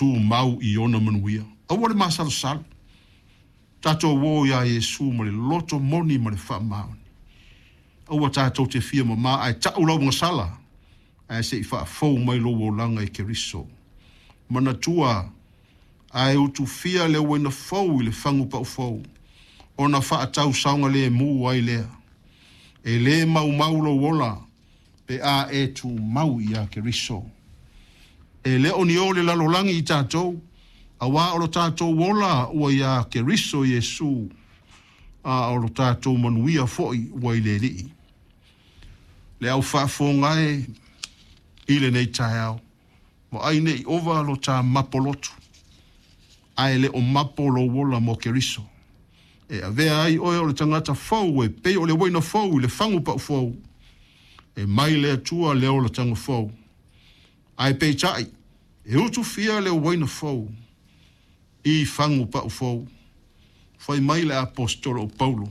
tumau i ona manuia. Aua le masalosalo. Tatou o iā Iesu ma le loto moni ma le faamaoni. Aua tatou te fia mamā ae ta'u lau agasala ae se i faafou mai lou olaga e Keriso. Manatua, a e utufia le uaina fou i le fagu paufou, ona faatau saogalēmū ai lea. E lē maumau lou ola pe a e tumau iā Keriso. E le o ni o le lalolagi i tatou, auā o lo tatou ola ua iā Keriso Iesu, a o lo tatou manuia foi ua i le Alii. Le au faafofoga e i lenei taeao, vaai ne i ova lo tā mapo lotu, ae le o mapo lou ola mo Keriso. E avea ai oe o le tagata fou e pei o le uaina fou i le fagu paufou, e mai le Atua le olataga fou. Ae peitai, e utufia le uaina fou i fagu paufou. Fai mai le aposetolo o Paulo,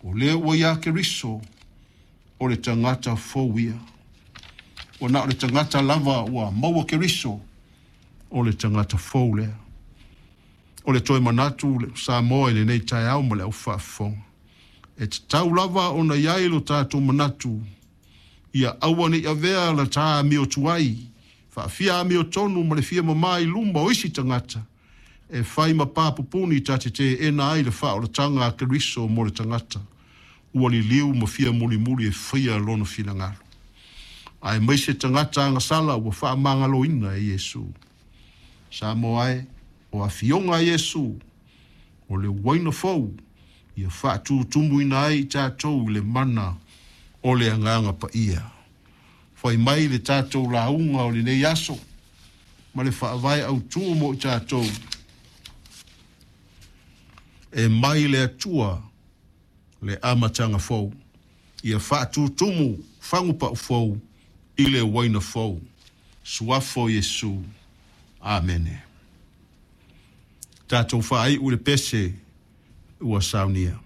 o le ua iā Keriso, o le tagata fou ia. Ua na o le tagata lava ua maua Keriso, o le tagata fou lea. O le toe manatu Samoa i lenei taeao ma le au faafofoga. E tatau lava ona i ai lo tatou manatu, ia aua ne i avea la tā amio tuai, faafia amiotonu ma le fia mamā i luma o isi tagata, e fai ma pā pupuni ta te teena ai le faaolataga a Keriso mo le tagata, ua liliu ma fia mulimuli e faia lona finagalo. Aemaise tagata agasala ua faamagaloina e Iesu. Samoa e, o afioga a Iesu, o le uaina fou, ia faatutumuina ai i tatou i le mana o le Agaga Paia. Fai mai le tatou lauga o lenei aso ma le faavae autū mo i tatou, e mai le Atua le amataga fou, ia faatutumu fagu paufou i le uaina fou. Suafa o Iesu. Amene. Tatou faaiu i le pese ua saunia.